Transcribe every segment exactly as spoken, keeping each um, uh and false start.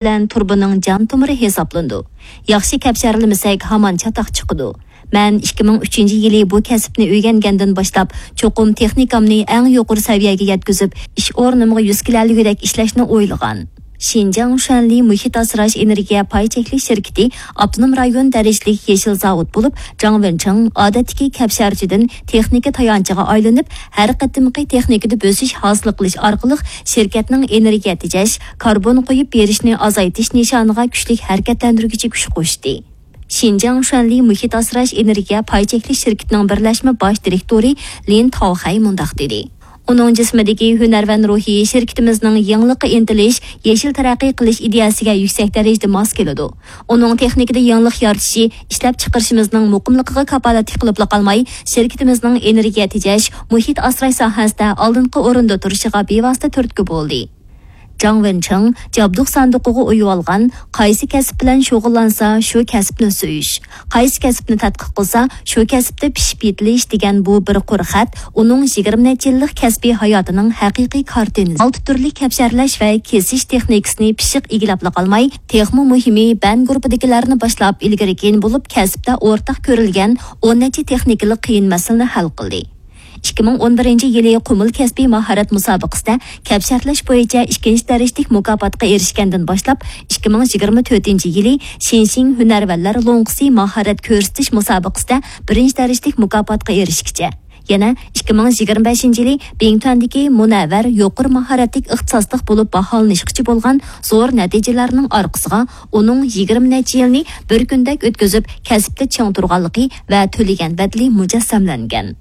بىلەن تۇرۇبىنىڭ جان تومۇرى ھېسابلىنىدۇ. ياخشى كەپشەرلىمىسەك، ھامان چاتاق چىقىدۇ. مەن ئىككى مىڭ ئۈچىنچى يىلى بۇ كەسىپنى ئۆگەنگەندىن باشلاپ، چوقۇم تېخنىكامنى ئەڭ يۇقىرى سەۋىيەگە يەتكۈزۈپ، ئىش ئورنۇمغا يۈز كېلەلىگۈدەك ئىشلەشنى ئويلىغان. شىنجاڭ شۈەنلى مۇھىت ئاسراش ئېنېرگىيە پاي چەكلىك شىركىتى ئاپتونوم رايون دەرىجىلىك يېشىل زاۋۇت بولۇپ، جاڭ ۋېنچىڭ ئادەتتىكى كەپشەرچىدىن تېخنىكا تايانچىغا ئايلىنىپ، ھەر قېتىمقى تېخنىكىدا بۆسۈش ھاسىل قىلىش ئارقىلىق شىركەتنىڭ ئېنېرگىيە تېجەش، كاربون قويۇپ بېرىشنى ئازايتىش نىشانىغا كۈچلۈك ھەرىكەتلەندۈرگۈچى كۈچ قوشتى. شىنجاڭ شۈەنلى مۇھىت ئاسراش ئېنېرگىيە پاي چەكلىك شىركىتىنىڭ بىرلەشمە باش دىرېكتورى لىن تاۋخەي مۇنداق دېدى. ئۇنىڭ جىسمىدىكى ھۈنەرۋەن روھى شىركىتىمىزنىڭ يېڭىلىققا ئىنتىلىش، يېشىل تەرەققىي قىلىش ئىدىيەسىگە يۈكسەك دەرىجىدە ماس كېلىدۇ. ئۇنىڭ تېخنىكىدا يېڭىلىق يارىتىشى ئىشلەپچىقىرىشىمىزنىڭ مۇقىملىقىغا كاپالەتلىك قىلىپلا قالماي، شىركىتىمىزنىڭ ئېنېرگىيە تېجەش، مۇھىت ئاسراش ساھەسىدە ئالدىنقى ئورۇندا تۇرۇشىغا بىۋاسىتە تۈرتكە بولدى. جاڭ ۋېنچىڭ جابدۇق ساندۇقىغا ئويۇۋالغان، قايسى كەسىپ بىلەن شۇغۇللانسا، شۇ كەسىپنى سۆيۈش، قايسى كەسىپنى تەتقىق قىلسا، شۇ كەسىپتە پىشىپ يېتىلىش دېگەن بۇ بىر قۇر خەت ئۇنىڭ يىگىرمە نەچچە يىللىق كەسپىي ھاياتىنىڭ ھەقىقىي كارتىنىسى. ئالتە تۈرلۈك كەپشەرلەش ۋە كېسىش تېخنىكىسىنى پىششىق ئىگىلەپلا قالماي، تېخىمۇ مۇھىمى، بەن گۇرۇپپىدىكىلەرنى باشلاپ ئىلگىرى كېيىن بولۇپ، كەسىپتە ئورتاق كۆرۈلگەن ئون نەچچە تېخنىكىلىق قىيىن مەسىلىنى ھەل قىلدى. ئىككى مىڭ ئون بىرىنچى يىلى قۇمۇل كەسپىي ماھارەت مۇسابىقىسىدە كەپشەرلەش بويىچە ئىككىنچى دەرىجىلىك مۇكاپاتقا ئېرىشكەندىن باشلاپ، ئىككى مىڭ يىگىرمە تۆتىنچى يىلى شىنشىڭ ھۈنەرۋەنلەر لوڭقىسى ماھارەت كۆرسىتىش مۇسابىقىسىدە بىرىنچى دەرىجىلىك مۇكاپاتقا ئېرىشكىچە، يەنە ئىككى مىڭ يىگىرمە بەشىنچى يىلى بىڭتۈەندىكى مۇنەۋۋەر يۇقىرى ماھارەتلىك ئىختىساسلىق بولۇپ باھالىنىشقىچە بولغان زور نەتىجىلەرنىڭ ئارقىسىغا ئۇنىڭ يىگىرمە نەچچە يىلنى بىر كۈندەك ئۆتكۈزۈپ، كەسىپتە چىڭ تۇرغانلىقى ۋە تۆلىگەن بەدىلى مۇجەسسەملەنگەن.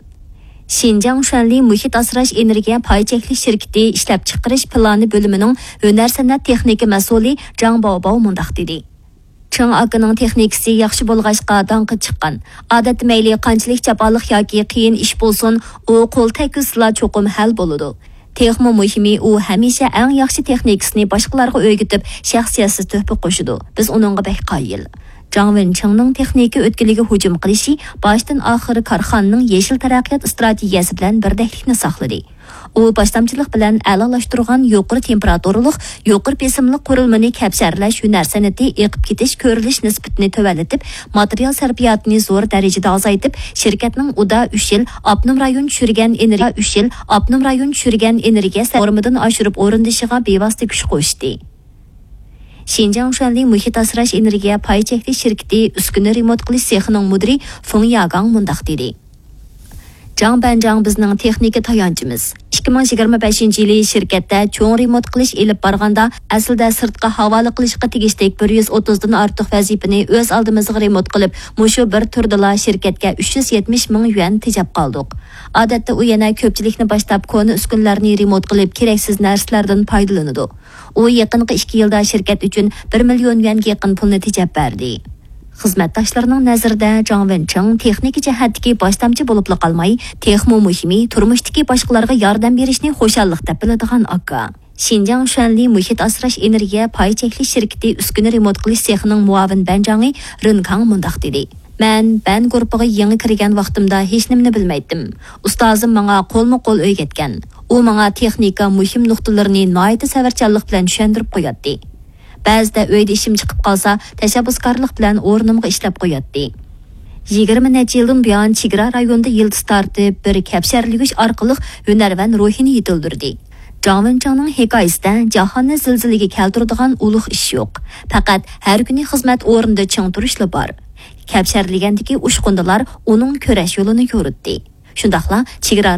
شىنجاڭ شۈەنلى مۇھىت ئاسراش ئېنېرگىيە پاي چەكلىك شىركىتى ئىشلەپچىقىرىش پىلانى بۆلۈمىنىڭ ھۈنەر سەنئەت تېخنىكا مەسئۇلى جاڭ باۋباۋ مۇنداق دېدى: چېڭ ئاكىنىڭ تېخنىكىسى ياخشى بولغاچقا داڭقى چىققان. ئادەتتە مەيلى قانچىلىك جاپالىق ياكى قىيىن ئىش بولسۇن، ئۇ قول تەگكۈزسىلا چوقۇم ھەل بولىدۇ. تېخىمۇ مۇھىمى، ئۇ ھەمىشە ئەڭ ياخشى تېخنىكىسىنى باشقىلارغا ئۆگىتىپ، شەخسىيەتسىز تۆھپە قوشىدۇ. بىز ئۇنىڭغا بەك قايىل. جاڭ ۋېنچىڭنىڭ تېخنىكا ئۆتكىلىگە ھۇجۇم قىلىشى باشتىن ئاخىر كارخانىنىڭ يېشىل تەرەققىيات ئىستراتېگىيەسى بىلەن بىردەكلىكنى ساقلىدى. ئۇ باشلامچىلىق بىلەن ئەلالاشتۇرغان يۇقىرى تېمپېراتۇرىلىق، يۇقىرى بېسىملىق قۇرۇلمىنى كەپشەرلەش ھۈنەر سەنئىتى ئېقىپ كېتىش كۆرۈلۈش نىسبىتىنى تۆۋەنلىتىپ، ماتېرىيال سەرپىياتىنى زور دەرىجىدە ئازايتىپ، شىركەتنىڭ ئۇدا ئۈچ يىل ئاپتونوم رايون چۈشۈرگەن ئېنېرگىيە، ئۈچ يىل ئاپتونوم رايون چۈشۈرگەن ئېنېرگىيە سەرپىياتىنى ئورمىدىن ئاشۇرۇپ ئورۇندىشىغا بىۋاسىتە كۈچ قوشتى. شىنجاڭ شۈەنلى مۇھىت ئاسراش ئېنېرگىيە پاي چەكلىك شىركىتى ئۈسكۈنە رېمونت قىلىش سېخىنىڭ مۇدىرى فېڭ ياگاڭ مۇنداق دېدى: جاڭ بەنجاڭ بىزنىڭ تېخنىكا تايانچىمىز. ئىككى مىڭ يىگىرمە بەشىنچى يىلى شىركەتتە چوڭ رېمونت قىلىش ئېلىپ بارغاندا، ئەسلىدە سىرتقا ھاۋالە قىلىشقا تېگىشلىك بىر يۈز ئوتتۇزدىن ئارتۇق ۋەزىپىنى ئۆز ئالدىمىزغا رېمونت قىلىپ، مۇشۇ بىر تۈردىلا شىركەتكە ئۈچ يۈز يەتمىش مىڭ يۈەن تېجەپ قالدۇق. ئادەتتە ئۇ يەنە كۆپچىلىكنى باشلاپ كونا ئۈسكۈنىلەرنى رېمونت قىلىپ، كېرەكسىز نەرسىلەردىن پايدىلىنىدۇ. ئۇ يېقىنقى ئىككى يىلدا شىركەت ئۈچۈن بىر مىليون يۈەنگە يېقىن پۇلنى تېجەپ بەردى. خىزمەتداشلىرىنىڭ نەزىرىدە جاڭ ۋېنچىڭ تېخنىكا جەھەتتىكى باشلامچى بولۇپلا قالماي، تېخىمۇ مۇھىمى، تۇرمۇشتىكى باشقىلارغا ياردەم بېرىشنى خۇشاللىق دەپ بىلىدىغان ئاكا. شىنجاڭ شۈەنلى مۇھىت ئاسراش ئېنېرگىيە پاي چەكلىك شىركىتى ئۈسكۈنە رېمونت قىلىش سېخىنىڭ مۇئاۋىن بەنجاڭى رېن كاڭ مۇنداق دېدى: مەن بەن گۇرۇپپىغا يېڭى كىرگەن ۋاقتىمدا ھېچنېمىنى بىلمەيتتىم. ئۇستازىم ماڭا قولمۇ قول ئۆگەتكەن. ئۇ ماڭا تېخنىكا مۇھىم نۇقتىلىرىنى ناھايىتى سەۋرچانلىق بىلەن چۈشەندۈرۈپ قوياتتى. بەزىدە ئۆيدە ئىشىم چىقىپ قالسا، تەشەببۇسكارلىق بىلەن ئورنۇمغا ئىشلەپ قوياتتى. يىگىرمە نەچچە يىلدىن بۇيان چېگرا رايونىدا يىلتىز تارتىپ، بىر كەپشەرلىگۈچ ئارقىلىق ھۈنەرۋەن روھىنى يېتىلدۈردى. جاڭ ۋېنچىڭنىڭ ھېكايىسىدە جاھاننى زىلزىلىگە كەلتۈرىدىغان ئۇلۇغ ئىش يوق. پەقەت ھەر كۈنى خىزمەت ئورنىدا چىڭ تۇرۇشلا بار. كەپشەرلىگەندىكى ئۇچقۇندىلار ئۇنىڭ كۈرەش يولىنى يورۇتتى. شۇنداقلا چېگرا